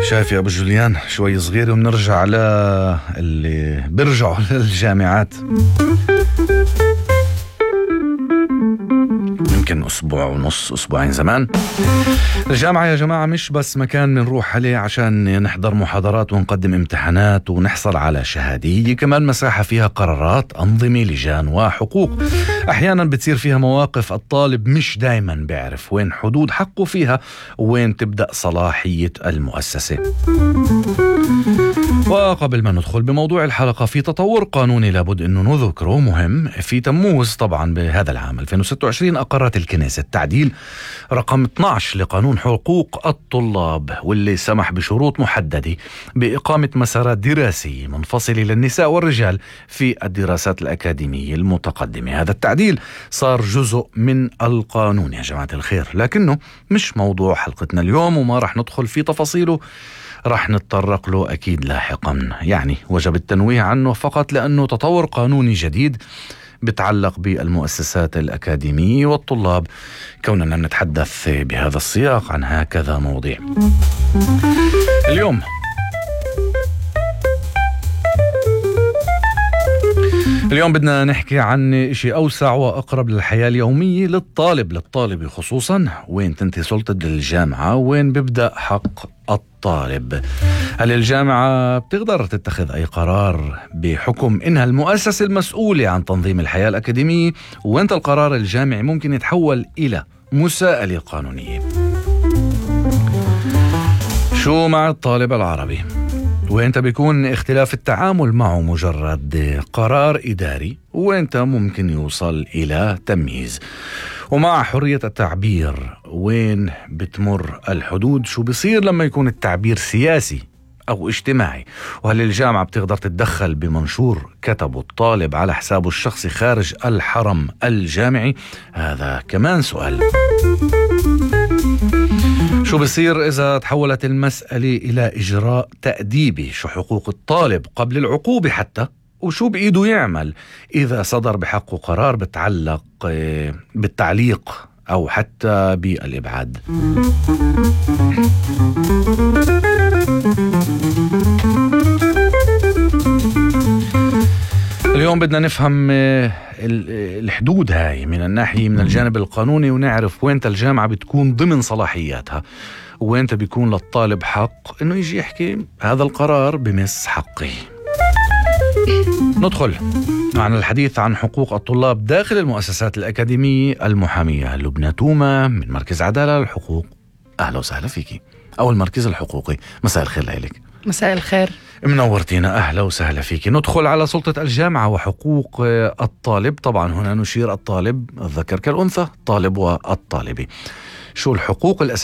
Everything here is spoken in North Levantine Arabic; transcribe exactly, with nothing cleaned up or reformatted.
شايف يا أبو جوليان شوي صغير وبنرجع على اللي بيرجعوا للجامعات يمكن أسبوع ونص أسبوعين زمان. الجامعة يا جماعة مش بس مكان بنروح عليه عشان نحضر محاضرات ونقدم امتحانات ونحصل على شهادة، هي كمان مساحة فيها قرارات، أنظمة، لجان وحقوق. أحيانا بتصير فيها مواقف الطالب مش دايما بيعرف وين حدود حقه فيها وين تبدأ صلاحية المؤسسة. وقبل ما ندخل بموضوع الحلقة، في تطور قانوني لابد أنه نذكره مهم. في تموز طبعا بهذا العام ألفين وستة وعشرين أقرت الكنيسة التعديل رقم اثني عشر لقانون حقوق الطلاب، واللي سمح بشروط محددة بإقامة مسارات دراسية منفصلة للنساء والرجال في الدراسات الأكاديمية المتقدمة. هذا التعديل صار جزء من القانون يا جماعة الخير، لكنه مش موضوع حلقتنا اليوم وما رح ندخل في تفاصيله، رح نتطرق له أكيد لاحقا. يعني وجب التنويه عنه فقط لأنه تطور قانوني جديد بتعلق بالمؤسسات الأكاديمية والطلاب، كوننا نتحدث بهذا السياق عن هكذا مواضيع. اليوم اليوم بدنا نحكي عن إشي أوسع وأقرب للحياة اليومية للطالب للطالب خصوصا. وين تنتهي سلطة الجامعة وين بيبدأ حق الطالب؟ هل الجامعة بتقدر تتخذ أي قرار بحكم إنها المؤسسة المسؤولة عن تنظيم الحياة الأكاديمية؟ وانت القرار الجامعي ممكن يتحول إلى مساءلة قانونية. شو مع الطالب العربي؟ وانت بيكون اختلاف التعامل معه مجرد قرار إداري، وانت ممكن يوصل إلى تمييز. ومع حرية التعبير وين بتمر الحدود؟ شو بيصير لما يكون التعبير سياسي أو اجتماعي؟ وهل الجامعة بتقدر تتدخل بمنشور كتبه الطالب على حسابه الشخصي خارج الحرم الجامعي؟ هذا كمان سؤال. شو بصير إذا تحولت المسألة إلى إجراء تأديبي؟ شو حقوق الطالب قبل العقوبة حتى؟ وشو بإيده يعمل إذا صدر بحقه قرار بتعلق بالتعليق أو حتى بالإبعاد؟ اليوم بدنا نفهم الحدود هاي من الناحية من الجانب القانوني، ونعرف وين الجامعة بتكون ضمن صلاحياتها وين بيكون للطالب حق إنه يجي يحكي هذا القرار بمس حقي. ندخل عن الحديث عن حقوق الطلاب داخل المؤسسات الأكاديمية المحامية لبنى تومة من مركز عدالة للحقوق. أهلا وسهلا فيكي، أو المركز الحقوقي. مساء الخير لك. مساء الخير، منورتينا، أهلا وسهلا فيك. ندخل على سلطة الجامعة وحقوق الطالب. طبعا هنا نشير الطالب الذكر كالأنثى، الطالب والطالبة. شو الحقوق الأساسية